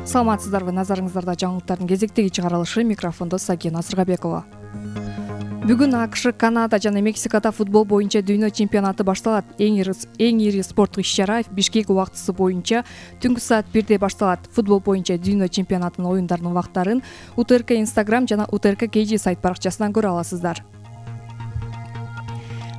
Саламатсыздарбы, назарыңыздарда жаңылыктардын кезектеги чыгарылышы, микрофондо Сакина Сыргабекова. Бүгүн АКШ, Канада жана Мексикада футбол боюнча дүйнө чемпионаты башталат. Эң ири спорттук иш-чара Бишкек убактысы боюнча түнкү саат 1-де башталат. Футбол боюнча дүйнө чемпионатынын оюндарынын убактарын УТРК Instagram жана УТРК KG сайт баракчасынан көрө аласыздар.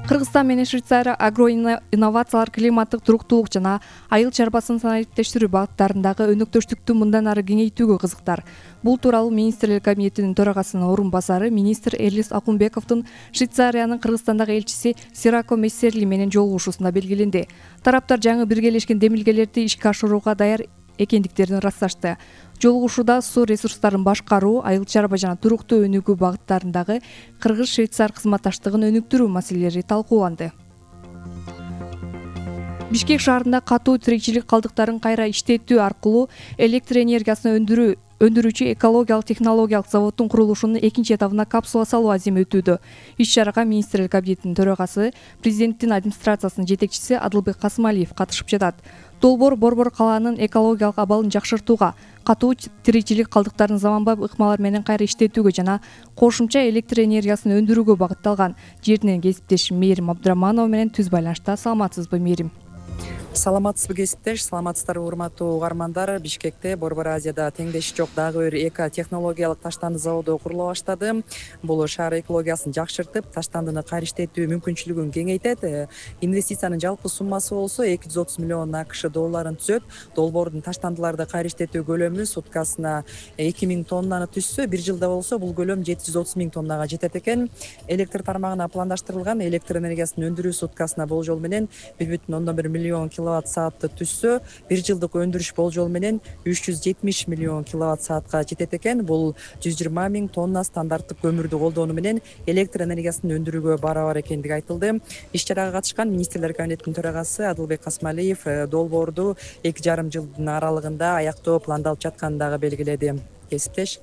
Кыргызстан менен Швейцария агроинновациялар, климаттык туруктуулук жана айыл чарбасын санариптештирүү багыттарындагы өнөктөштүктү мындан ары кеңейтүүгө кызыктар. Бул тууралуу министрлер кабинетинин төрагасынын орун басары министр Элис Акунбековдун Швейцариянын Кыргызстандагы элчиси Сирако Мессерли менен жолугушуусунда белгиленди. Тараптар жаңы биргелешкен демилгелерди ишке ашырууга даяр экендиктерин ырасташты. Жолугушууда суу ресурстарын башкаруу, айыл чарба жана туруктуу өнүгүү багыттарындагы Кыргыз-Швейцар кызматташтыгын өнүктүрүү маселелери талкууланды. Бишкек шаарында катуу тиричилик калдыктарын кайра иштетүү аркылуу электр энергиясын өндүрүүчү экологиялык технологиялык заводдун курулушунун экинчи этабына капсула салуу аземи өтүүдө. Иш-чарага министрлер кабинетинин төрагасы, президенттин администрациясынын жетекчиси Адылбек Касымалиев катышып жатат. Долбоор Борбор калаанын экологиялык абалын жакшыртууга, катуу тиричилик калдыктарын заманбап ыкмалар менен кайра иштетүүгө жана кошумча электр энергиясын өндүрүүгө багытталган. Жеринен кесиптешим Мээрим Абдыраманова менен түз байланышта. Саламатсызбы, Мээрим? Саламатсызбы, кесиптеш. Саламатсыздарбы, урматтуу угармандар. Бишкекте Борбор Азияда теңдеши жок дагы бир эко-технологиялык таштанды заводу курулуп баштады. Бул шаар экологиясын жакшыртып, таштандыны кайра иштетүү мүмкүнчүлүгүн кеңейтет. Инвестициянын жалпы суммасы болсо 230 миллион АКШ долларын түзөт. Долбоордун таштандыларды кайра иштетүү көлөмү суткасына 2000 тоннаны түзсө, бир жылда болсо бул көлөм 730 000 тоннага жетет экен. Электр тармагына пландаштырылган электр энергиясын өндүрүү суткасына болжол менен 1,1 миллион киловатт саатты түзсө, бир жылдык өндүрүш болжол менен 370 миллион киловатт саатка жетет экен. Бул 120 000 тонна стандарттык көмүрдү колдонуу менен электр энергиясын өндүрүүгө барабар экендиги айтылды. Иш-чарага катышкан министрлер кабинетинин төрагасы Адылбек Касымалиев долбоорду 2,5 жылдын аралыгында аяктоо пландалып жатканын дагы белгиледи. Кесиптеш.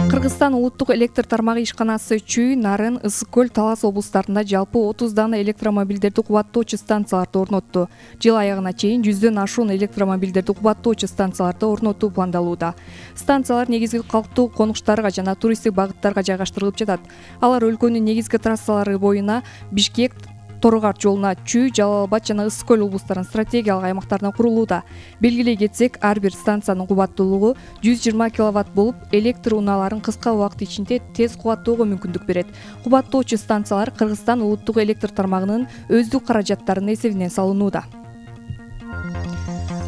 Кыргызстан улуттук электр тармагы ишканасы Чүй, Нарын, Ысык көл, Талас облустарында жалпы 30 дана электромобилдерди кубаттоочу станцияларды орнотту. Жыл аягына чейин 100дөн ашуун электромобилдерди кубаттоочу станцияларды орнотуу пландалууда. Станциялар негизги калктуу конуштарга жана туристтик багыттарга жайгаштырылып жатат. Алар өлкөнүн негизги трассалары боюна Бишкек, Торгарт жолуна Чүй, Жалал Абад жана Ысык көл облустарынын стратегиялык аймактарына курулууда. Белгилей кетсек, ар бир станциянын кубаттуулугу 120 киловатт болуп, электр унааларын кыска убакыт ичинде тез кубаттоого мүмкүндүк берет. Кубаттоочу станциялар Кыргызстан улуттук электр тармагынын өздүк каражаттарынын эсебинен салынууда.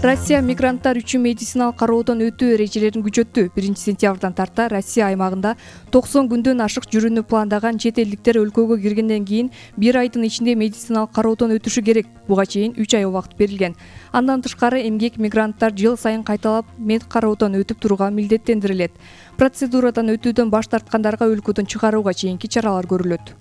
Россия мигранттар үчүн медициналык кароодон өтүү эрежелерин күчөттү. 1-сентябрдан тарта Россия аймагында 90 күндөн ашык жүрүүнү пландаган чет элдиктер өлкөгө киргенден кийин 1 айдын ичинде медициналык кароодон өтүшү керек. Буга чейин 3 ай убакыт берилген. Андан тышкары эмгек мигранттар жыл сайын кайталап мед кароодон өтүп турууга милдеттендирилет. Процедурадан өтүүдөн баш тарткандарга өлкөдөн чыгарууга чейинки чаралар көрүлөт.